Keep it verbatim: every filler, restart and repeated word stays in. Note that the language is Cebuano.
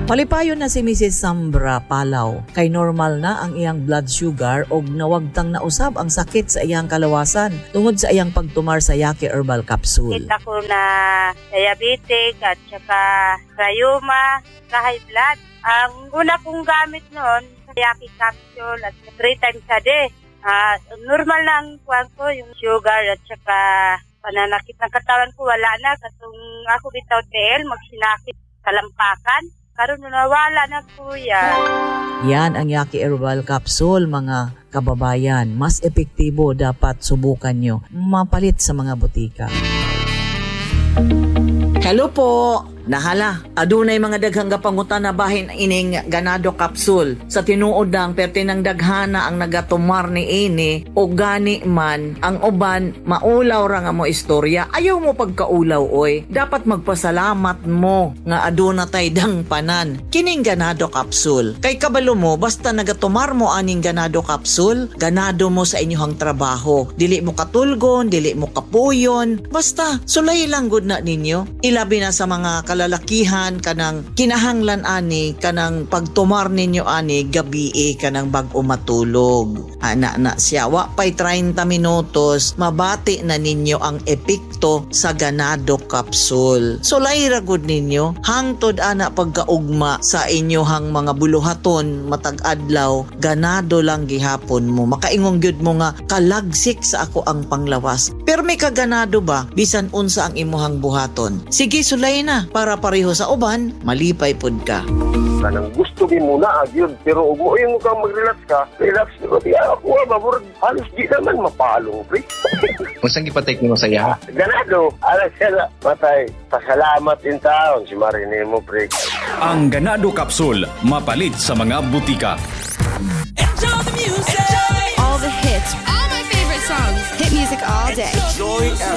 Palipayon na si Missus Sambra Palaw kay normal na ang iyang blood sugar og nawagtang na usab ang sakit sa iyang kalawasan tungod sa iyang pagtumar sa Yaki Herbal Capsule. Kita ko na diabetic at saka rayuma, sa high blood. Ang una kong gamit noon, Yaki capsule at three times a day. Ah, normal na ang kuwan ko, yung sugar at saka pananakit ng katawan ko, wala na. Katong ako bitaw T L, magsinakit kalampakan. Karon nawala na, kuya. Yan ang Yaki Herbal Capsule, mga kababayan. Mas epektibo, dapat subukan nyo. Mapalit sa mga butika. Hello po! Nahala, adunay mga daghang gapangutana bahin ining Ganado Capsule. Sa tinuod lang, perte ng daghana ang nagatumar ni ini o gani man ang uban maulaw ra nga mo istorya. Ayaw mo pagkaulaw, oy. Dapat magpasalamat mo nga aduna tay dangpanan. Kining Ganado Capsule. Kay kabalo mo, basta nagatumar mo aning Ganado Capsule, ganado mo sa inyong trabaho. Dili mo katulgon, dili mo kapuyon. Basta sulay lang gud na ninyo. Ilabi na sa mga kalalakihan, kanang kinahanglan ani kanang pagtumar ninyo ani gabi kanang bag-o matulog. Ana na siya, wa pay thirty minutos mabati na ninyo ang epekto sa Ganado Capsule. Sulay ra gud ninyo hangtod ana pagkaugma sa inyohang mga buluhaton matag adlaw, ganado lang gihapon mo. Makaingon gyud mo nga kalagsik sa ako ang panglawas. Pero may kaganado ba bisan unsa ang imuhang buhaton? Sige, sulay na para pareho sa uban, malipay pud ka. Kanang gusto gi mo na gyud, pero ug mo yung kang mag-relax ka, relax ko di ako ba murag halos di naman mapalong, pre. Unsang gipatake nimo sa iya? Ganado, ala sila patay. Pasalamat in taon si Marini mo, pre. Ang Ganado Capsule, mapalit sa mga butika. All the hits.